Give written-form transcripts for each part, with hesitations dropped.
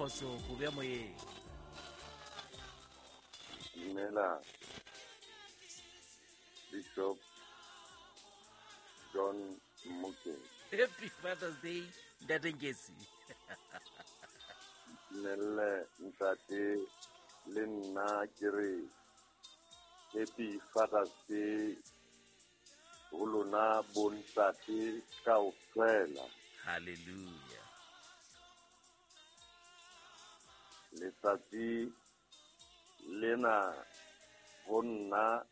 Boso, ko bea moyeng. Dumela Bishop John Mmoke. Happy Father's Day, Ntate Nkesi. Dumelle ntate le nna ke re Happy Father's Day ho lona bontate kaofela. Hallelujah. Letsatsi lena ho nna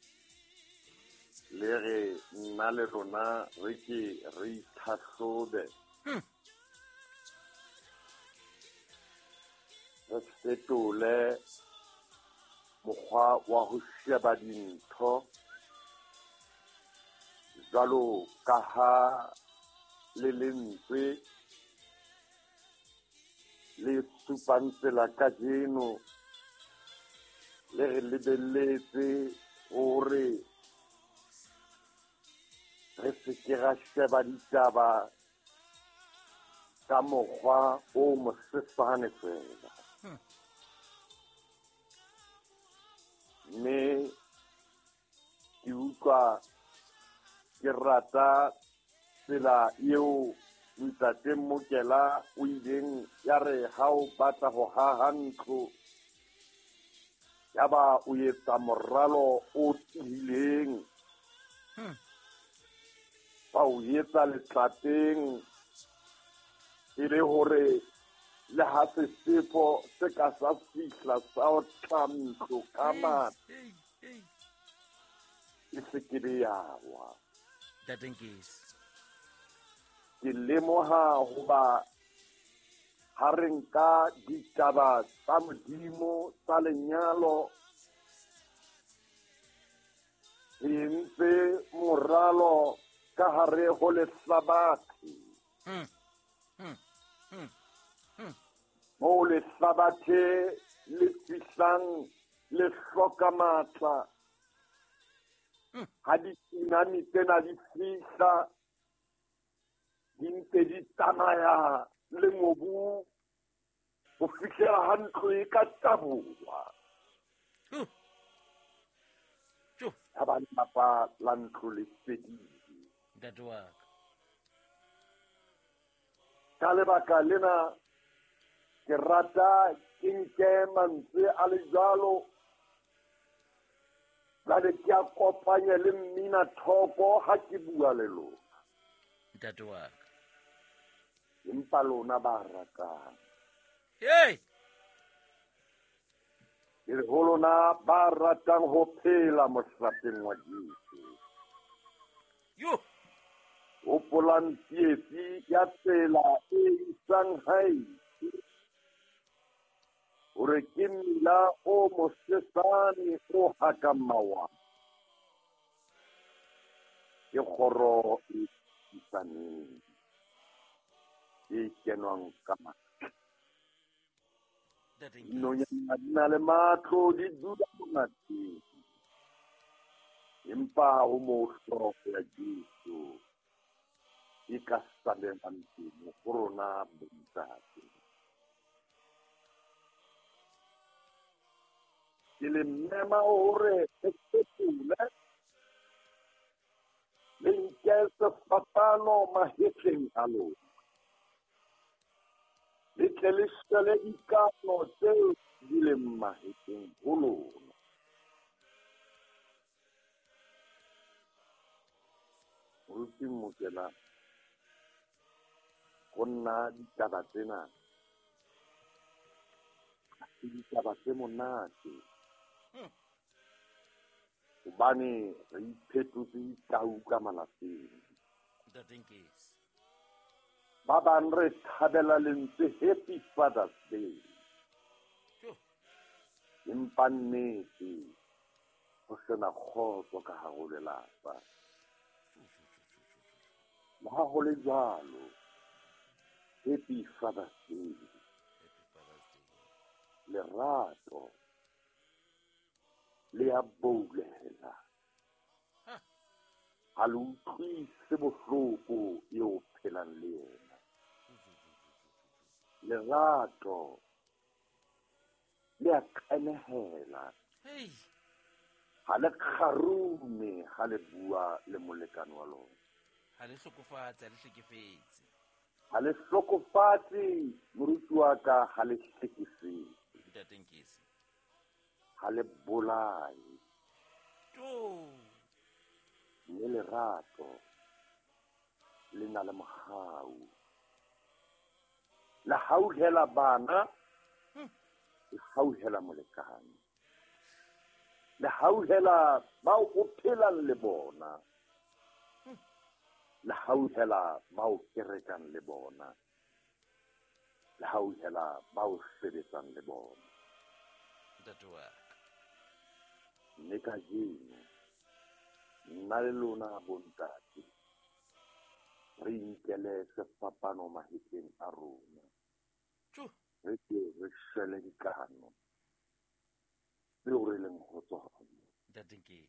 le re nna le rona re ke re itlhahlobe. Re fetole mokgwa wa ho sheba dintho jwalo ka ha le lentswe le supang tsela kajeno le re lebelletse hore re se ke ra sheba ditaba ka mokgwa o mosesane fela. Mme ke utlwa ke rata tsela eo Ntate Mokela o ileng ya re ha o batla ho haha ntlo yaba o etsa moralo o tiileng. Ba o etsa letlapeng e le hore le ha sefefo se ka sa fihla sa otla ntlo ka matla e se ke be ya wa. Ntate Nkesi. Ke lemoha hoba ha re nka ditaba tsa Modimo tsa lenyalo re entse moralo ka hare ho lehlabathe. Moo lehlabathe le fihlang le hloka matla. Ha ditsunami tsena di fihla di ntse di tsamaya le mobu ho fihlela ha ntlo e ka taboha. Ha ba lelapa la ntlo le fedile. Ntate wa ka. Ka lebaka lena ke rata ke nke mantswe a le jwalo jwale ke a kopanye le mmina thoko ha ke bua le lona. Ntate wa ka. Empa lona ba ratang. Hey! Ke re ho lona ba ratang ho phela mohlapeng wa Jesu. Yo! Hopolang tsietsi ya tsela e isang hae hore ke mmila o mosesane o hakang mawa. Ke kgoro e isaneng e kenwang ka matla. Dinonyana di na le matlo, di dula monateng. Empa ho moo hlooho ya Jesu e ka salelang teng ho rona bontate. Ke le mema hore re fetole le nke sefapano mahetleng a lona. Le tle le shwele dikano tseo di leng mahetleng ho lona. Moruti Mokela, ho nna ditaba tsena ke ditaba tse monate. Hobane re iphetotse ditau ka malapeng. Ntate Nkesi. Ba bang re thabela lentswe Happy Father's Day. Empa nnete ho sena kgotso ka hare ho lelapa. Le ha ho le jwalo, Happy Father's Day. Lerato le a boulela. Ha le utlwise bohloko eo phelang le yena. Lerato Le a qenehela. Ha le kgarume ha le bua le molekane wa lona. Ha le hlokofatse, ha le hlekefetse. Ha le hlokofatse, moruti wa ka, ha le hlekefetse. Ntate Nkesi. Ha le bolaye. To. Mme lerato le na le mohau. Le hauhela bana, le hauhela molekane. Le hauhela bao o phelang le bona. Le hauhela bao kerekang le bona. Le hauhela bao sebetsang le bona. Ntate wa ka. Mme kajeno, nna le lona bontate, re inkele sefapano mahetleng a rona. Re ke re shwele dikano tseo re leng ho tsona. Ntate Nkesi.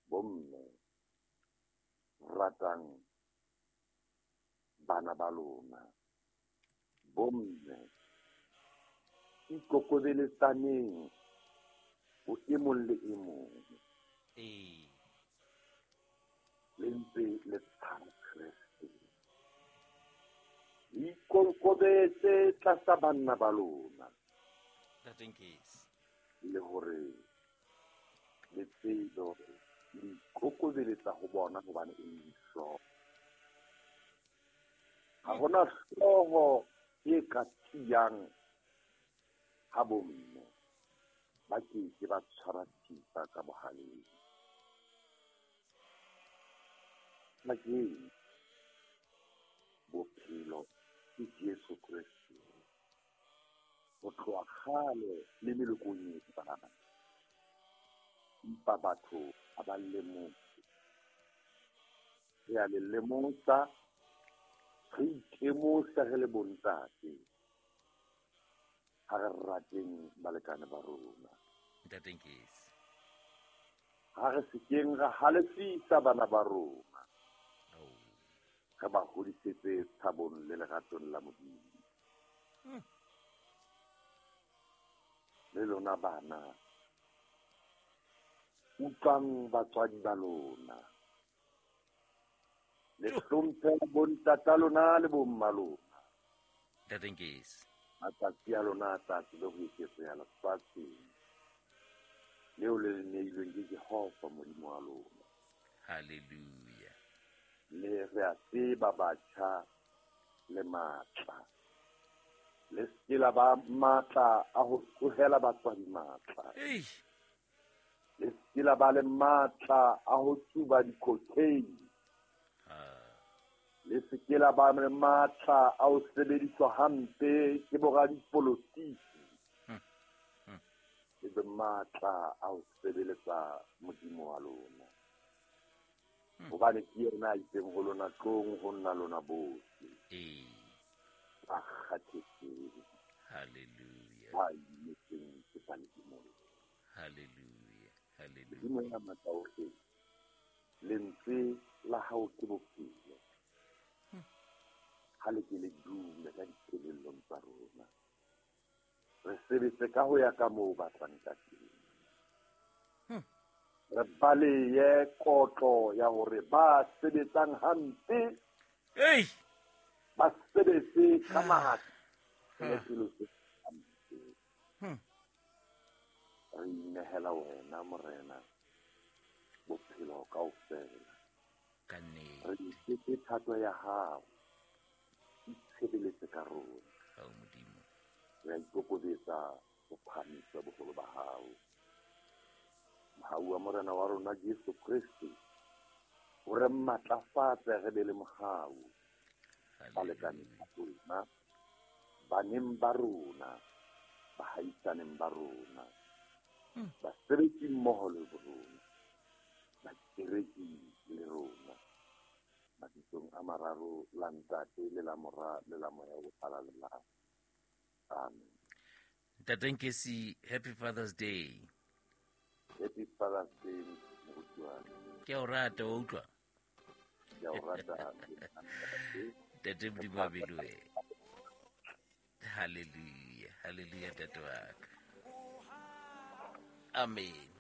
Bomme, ratang bana ba lona. Bomme, ikokobeletsaneng ho e mong le e mong. Le ntse le tshaba Kreste. Ikokobetse tlasa banna ba lona. Ntate Nkesi. Le hore le tsebe hore le ikokobeletsa ho bona hobane e le dihlooho. Ha hona hlooho e ka tiyang ha bomme ba ke ke ba tshwara thipa ka bohaleng. Kajeno bophelo ke Jesu Kreste. Ho tloha kgale le melokong e tlang. Empa batho ha ba lemohe. Re a le lemosa, re itemosa re le bontate. Ha re rateng balekane ba rona. Ntate Nkesi. Ha re sekeng ra halefisa bana ba rona. Re ba hodisetse tshabong le leratong la Modimo. Le lona bana, utlwang batswadi ba lona. Le hlomphe bontata lona le bomma lona. Ntate Nkesi. Matsatsi a lona a tla tsebe ho eketseha lefatsheng leo le le neilweng ke Jehova Modimo wa lona. Hallelujah. Le re a tseba batjha le matla. Le se la ba matla a ho tlohela batswadi matla. Le se la ba le matla a ho tsuba di-cocaine. Le se ke la ba le matla a ho sebediswa hampe ke boradipolotiki. Le be matla a ho sebeletsa Modimo wa lona. Hobane ke yena a itseng ho lona, tlong ho nna lona bohle. Ba kgathetseng. Hallelujah. Ba imetsweng ke tla le imolla. Hallelujah. Hallelujah. Modimo ya matla ohle, lentswe la hao ke bophelo. Ha le ke le dume ka dikelellong tsa rona. Re sebetse ka ho ya ka moo o batlang ka teng. Re baleye kotlo ya hore ba sebetsang hampe ba sebetse ka matla le pelo tse hampe. Re inehela wena Morena bophelo kaofela. Ka nnete. Re iketse thato ya hao, itshebeletse ka rona. Hao Modimo. Re a ikokobetsa ho phahamisa boholo ba hao. Mohau wa Morena wa rona Jesu Kreste o re matlafatse re be le mohau. Balekane ba rona, baneng ba rona, bahaisaneng ba rona, basebetsi mmoho le rona, bakereki le rona. Mabitsong a mararo, la Ntate le la Mora le la Moya o Halalelang. Amen. Ntate Nkesi, happy Father's Day. Happy Father's Day, moruti wa ka. Ke a o rata, wa utlwa? Ke a o rata. Ntate Modimo a be le wena. Hallelujah, hallelujah, ntate wa ka. Amen.